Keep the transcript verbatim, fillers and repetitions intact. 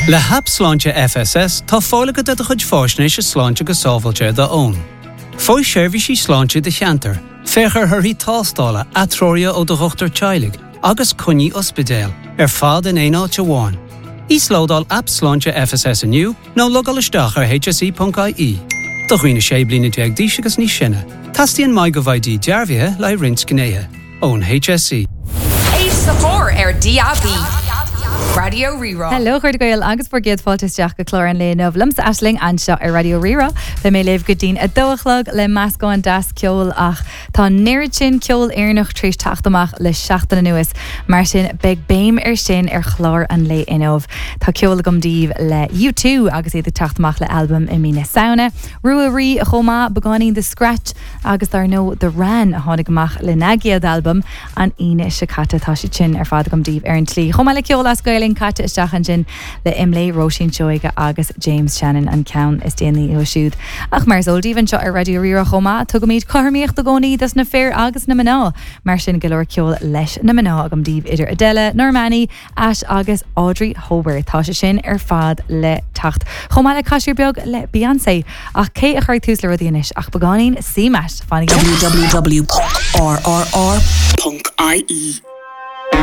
Le hAip Sláinte FSS tá fáil agat ar do chuid faisnéise sláinte go sábháilte ar do fhón. Faigh seirbhísí sláinte do cheantar, féach ar thorthaí tástála atreoruithe ó do dhochtúir teaghlaigh agus coinní ospidéil ar fad in aon áit amháin. Íoslódáil Aip Sláinte FSS inniu nó logáil isteach ar hse.ie. Do dhaoine sé bliana déag d'aois agus níos sine, Teastaíonn MyGovID dearbhaithe le roinnt gnéithe ón HSE. Éist sa chóir ar DAB. Raidió Rí-Rá. Hello chairde Gael agus bhur gcéad fáilte isteach go clár an lae inniu liomsa Aisling anseo ar Raidió Rí-Rá. Beidh mé libh go dtí'n a dó a chlog le meascán deas ceoil ach tá an oiread sin ceol Éireannach tar éis teacht amach le seachtain anuas, mar sin beidh béim ar sin ar chlár an lae inniu. Tá ceol agam daoibh le U two agus iad ag teacht amach le albam i mí na Samhna. Rua Rí chomh maith beagáinín The Scratch agus dar ndóigh The Wran a tháinig amach lena gcéad albam an Aoine seo caite tá sé sin ar fad agam daoibh ar an tslí. Chomh maith le ceol as Gaelainn caite isteach ansin le Imlé Róisín Seoige agus James Shannon an ceann is déanaí uathu siúd. Ach mar is eol daoibh anseo ar Raidió Rí-Rá chomh maith, tugaimid cothromaíocht i gcónaí dos na fir agus na mná, mar sin go leor ceol leis na mná agam daoibh idir Adele, Normani, Ash agus Audrey Hober. Tá sé sin ar fad le teacht. Chomh maith le casúr beag le Beyoncé ach cé a chuirfidh tús le rudaí anois ach beagáinín CMAT fanaigí. www.rrr.ie